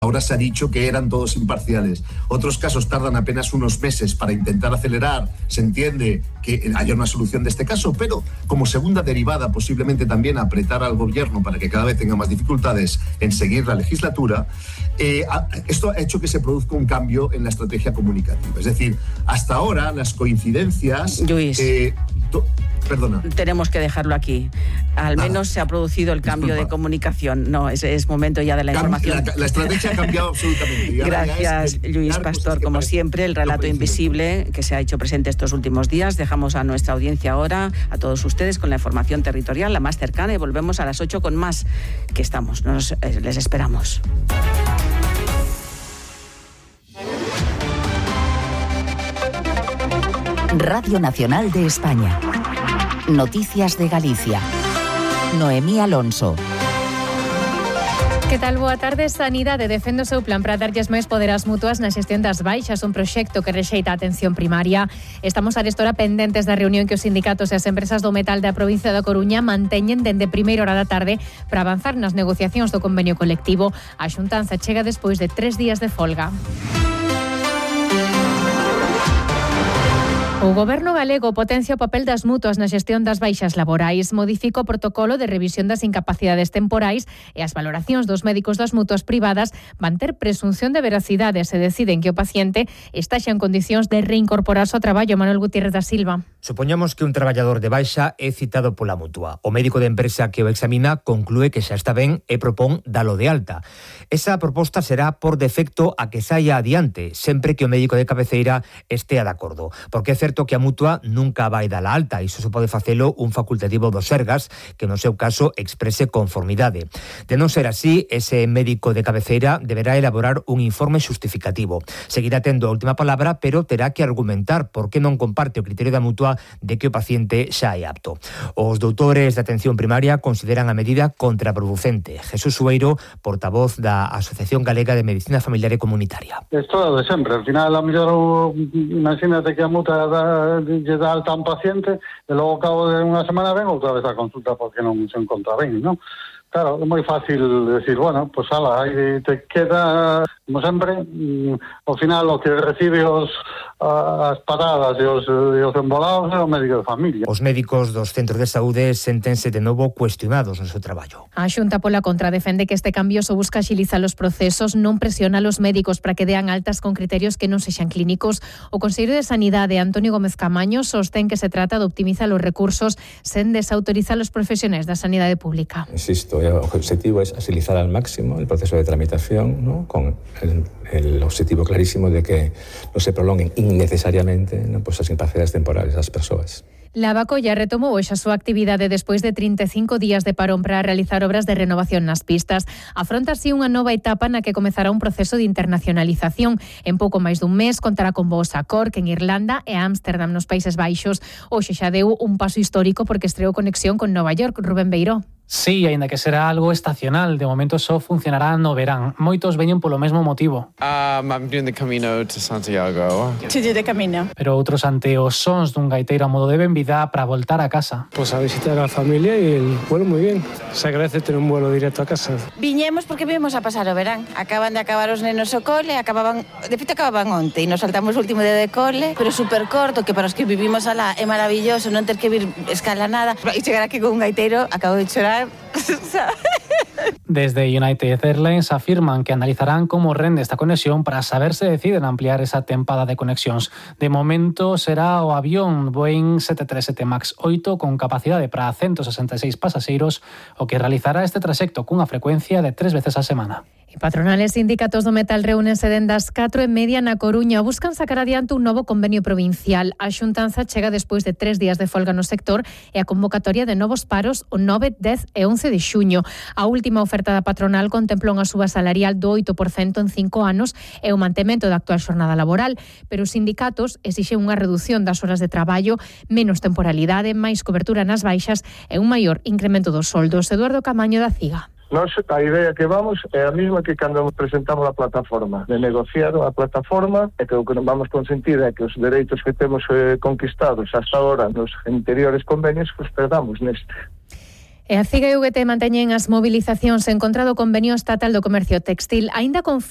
Ahora se ha dicho que eran todos imparciales. Otros casos tardan apenas unos meses para intentar acelerar. Se entiende que haya una solución de este caso, pero como segunda derivada, posiblemente también apretar al gobierno para que cada vez tenga más dificultades en seguir la legislatura, esto ha hecho que se produzca un cambio en la estrategia comunicativa. Es decir, hasta ahora las coincidencias... Luis, perdona. Tenemos que dejarlo aquí. Al menos se ha producido el cambio de comunicación. No, es momento ya de la información. La estrategia ha cambiado absolutamente. Gracias, Lluís Pastor. Como siempre, el relato invisible que se ha hecho presente estos últimos días. Dejamos a nuestra audiencia ahora, a todos ustedes, con la información territorial, la más cercana, y volvemos a las 8 con más, que estamos. Les esperamos. Radio Nacional de España. Noticias de Galicia. Noemí Alonso. Que tal? Boa tarde. Sanidade defende o seu plan para darlles máis poder ás mutuas na xestión das baixas, un proxecto que rexeita a atención primaria. Estamos arestora pendentes da reunión que os sindicatos e as empresas do metal da provincia da Coruña manteñen dende primeira hora da tarde para avanzar nas negociacións do convenio colectivo. A xuntanza chega despois de 3 días de folga. O Goberno galego potencia o papel das mutuas na xestión das baixas laborais, modifica o protocolo de revisión das incapacidades temporais e as valoracións dos médicos das mutuas privadas van ter presunción de veracidade se deciden que o paciente está xa en condicións de reincorporarse ao traballo. Manuel Gutiérrez da Silva. Supoñamos que un traballador de baixa é citado pola mutua. O médico de empresa que o examina conclúe que xa está ben e propón dalo de alta. Esa proposta será por defecto a que saia adiante, sempre que o médico de cabeceira estea de acordo, porque é certo que a mutua nunca vai dar a alta, iso se pode facelo un facultativo do Sergas, que no seu caso exprese conformidade. De non ser así, ese médico de cabeceira deberá elaborar un informe justificativo. Seguirá tendo a última palabra, pero terá que argumentar por que non comparte o criterio da mutua de que o paciente xa é apto. Os doutores de atención primaria consideran a medida contraproducente. Jesús Sueiro, portavoz da Asociación Galega de Medicina Familiar e Comunitaria. Isto é de sempre. Al final, a mellor, imagínate que a mutua lle dá alta a un paciente e logo ao cabo de unha semana ven outra vez a consulta porque non se encontra ben, non? Claro, é moi fácil decir, bueno, pues ala, aí te queda, como sempre, ao final o que recibe as paradas e os embolados é o médico de familia. Os médicos dos centros de saúde séntense de novo cuestionados no seu traballo. A Xunta pola contra defende que este cambio só busca axilizar os procesos, non presiona a los médicos para que dean altas con criterios que non sexan clínicos. O conselleiro de Sanidade, Antonio Gómez Camaño, sostén que se trata de optimizar os recursos sen desautorizar os profesionais da sanidade pública. Insisto, el objetivo es agilizar al máximo el proceso de tramitación, ¿no? Con el objetivo clarísimo de que no se prolonguen innecesariamente, ¿no? Pues as incapacidades temporales das persoas. Lavacolla retomou hoxe a súa actividade despois de 35 días de parón para realizar obras de renovación nas pistas. Afronta así unha nova etapa na que comezará un proceso de internacionalización. En pouco máis dun mes contará con voos a Cork en Irlanda e a Ámsterdam nos Países Baixos. Hoxe xa deu un paso histórico porque estreou conexión con Nova York. Rubén Beiró. Sí, aínda que será algo estacional, de momento só funcionará no verán. Moitos veñen polo mesmo motivo. I'm doing the Camino to Santiago. To do the Camino. Pero outros ante os sons dun gaiteiro a modo de benvida para voltar a casa. Pues a visitar a la familia y el vuelo muy bien. Se agradece tener un vuelo directo a casa. Viñemos porque vimos a pasar o verán. Acaban de acabar os nenos o cole, acababan onte e nos saltamos o último día de cole, pero super corto, que para os que vivimos alá é maravilloso non ter que vir escala nada. E chegar aquí con un gaiteiro, acabo de chorar. Desde United Airlines afirman que analizarán como rende esta conexión para saber se deciden ampliar esa tempada de conexións. De momento será o avión Boeing 737 MAX 8 con capacidade para 166 pasaxeiros o que realizará este traxecto cunha frecuencia de 3 veces a semana. E patronales e sindicatos do metal reúnense dende as 4:30 na Coruña. Buscan sacar adiante un novo convenio provincial. A xuntanza chega despois de 3 días de folga no sector e a convocatoria de novos paros o 9, 10 e 11 de xuño. A última oferta da patronal contempla unha suba salarial do 8% en 5 anos e o mantemento da actual xornada laboral, pero os sindicatos exixen unha reducción das horas de traballo, menos temporalidade, máis cobertura nas baixas e un maior incremento dos soldos. Eduardo Camaño da CIGA. Nos, a idea que vamos é a mesma que cando presentamos a plataforma, de negociar a plataforma e que o que vamos consentir é que os dereitos que temos conquistados hasta ahora nos anteriores convenios os perdamos neste. E a CIGA e UGT manteñen as movilizacións en contra do convenio estatal do comercio textil. Aínda confía